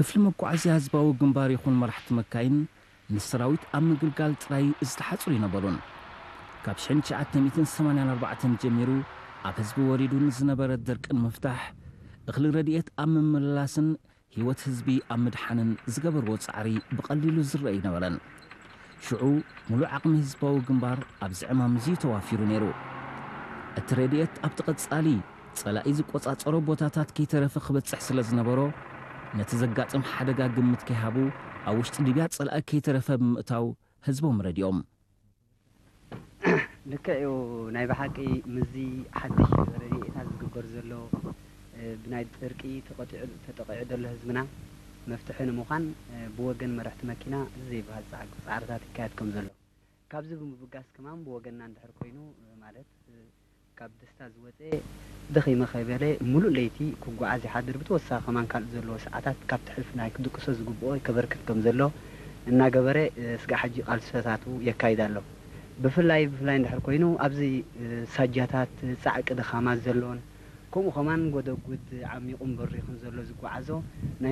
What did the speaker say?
ክፍሊ መጓዓዝያ ህዝባዊ ግንባር ይኹን መራሕቲ መካይን ንሰራዊት ኣብ ምግልጋል ጥራይ ዝተሓጽሩ ኣይነበሩን። ካብ ሽሕን ትሽዓተ ሚእትን ሰማንያን ኣርባዕተን ጀሚሩ ኣብ ህዝቢ ወሪዱ ንዝነበረ ደርቂ ንምፍታሕ፣ እኽሊ ረድኤት ኣብ ምምልላስን ህይወት ህዝቢ ኣብ ምድሓንን ዝገበርዎ ጻዕሪ ብቐሊሉ ዝረአ ኣይነበረን። ሽዑ ሙሉእ ዓቕሚ ህዝባዊ ግንባር ኣብዚ ዕማም እዚ ተዋፊሩ ነይሩ። እቲ ረድኤት ኣብቲ ቀጻሊ ጸላኢ ዝቆጻጸሮ ቦታታት ከይተረፈ ክበጽሕ ስለ ዝነበሮ፣ ነቲ ዘጋጥም ሓደጋ ግምት ከይሃቡ ኣብ ውሽጢ ሊብያ ጸላኢ ከይተረፈ ብምእታው ህዝቦም ረዲኦም። ልክዕ እዩ። ናይ ብሓቂ ምስዚ ሓድሽ ረድኤታት ዝግበር ዘሎ፣ እ፣ ብናይ ደርቂ ተቐጢዑ ተጠቒዑ ዘሎ ህዝብና መፍትሒ ንምዃን፣ እ፣ ብወገን መራሕቲ መኪና እዚ ዘይበሃል ጻዕ-፣ ጻዕርታት ይካየድ ከም ዘሎ፣ ካብዚ ብምብጋስ ከማን ብወገንና እንድሕር ኮይኑ፣ እ፣ ማለት፣ እ፣ ካብ ደስታ ዝወፀ ደኺመ ከይበለ ሙሉእ ለይቲ ክጓዓዝ ይሓድር። ብተወሳኺ ከማን ካልእ ዘለዎ ሰዓታት ካብቲ ሕልፊ ናይ ክድቅሶ ዝግብኦ ከበርክት ከም ዘሎ እናገበረ፣ እ፣ ስጋዕ ሕጂ ቃልስታቱ የካይድ ኣሎ። ብፍላይ ብፍላይ እንድሕር ኮይኑ ኣብዚ፣ እ፣ ሳጃታት ጻዕቂ ድኻማት ዘሎን ከምኡ ከማን ጎደጉድ ዓሚቑን በሪኹን ዘሎ ዝጓዓዞ ናይ